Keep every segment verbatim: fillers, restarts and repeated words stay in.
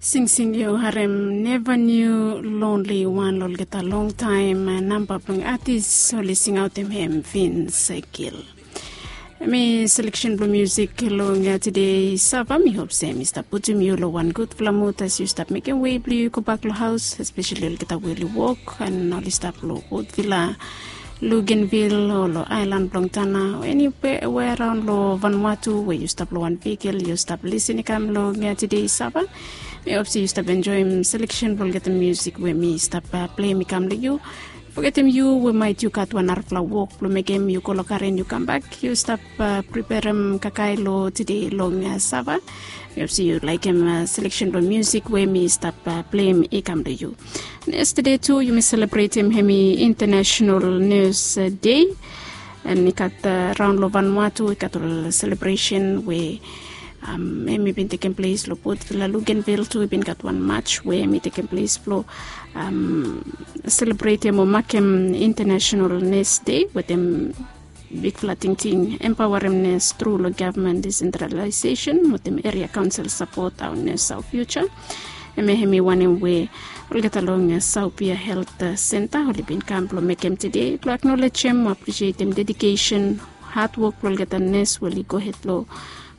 Singsing yu harem Never Knew Lonely One, lo olgeta longtaem namba blong atis oli singaotem hem Vince Gill. Hemi seleksen blong musik long tede Sava. Mi hop se mi stap putum yu lo wan gudfala mud as yu stap mekem wei blong yu gobak lo haos, espeseli olgeta we oli wok an oli stap lo Port Vila, Luganville o lo aelan blong Tanna o eniwe araon lo Vanuatu we yu stap lo wan vehikel yu stap lisin i kam long tede Sava. Mi hop se yu stap enjoem seleksen blong olgeta musik we mi stap pleim i kam long yu. Fogetem yu we maet yu gat wan narafala wok blong mekem, yu go lo karen yu kambak, yu stap preperem kakae lo tede long Sava. Mi hop se yu laekem seleksen blong musik we mi stap pleim i kam long yu. Yestede tu yumi selebretem hemi International Nurse Day. An i gat raon lo Vanuatu i gat ol selebresen we hemi bin tekem ples lo Port Vila, Luganville tu i bin gat wan maj we hemi tekem ples blo selebretem o makem International Nurse Day wetem bigfala tingting, empaorem nurse tru lo gavman desentralaesesen wetem eria kaonsel sapot, Our Nurse, Our Future. Hemia hemi wanem we olgeta long Saupia Helt Senta oli bin kam blo mekem tede blo aknolejem o apresietem dedikesen, hadwok blo olgeta nes we oli gohed blo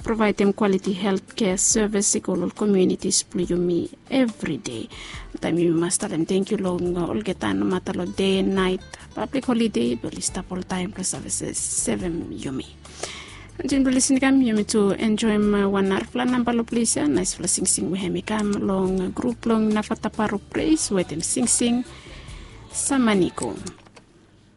provaedem kwaliti helt kea sevis i go lo ol komiunitis blo yumi evri dei. Taem yumi mas talem tangkiu long olgeta nomata lo dei, naet, pablik holide, be oli stap oltaem blo sevem yumi. Antin blo lisin i kam, yumi tu enjoem wan narafala namba lo ples ya, naesfala singsing we hemi kam long grup blong Navataparo Praise wetem singsing Samanigo.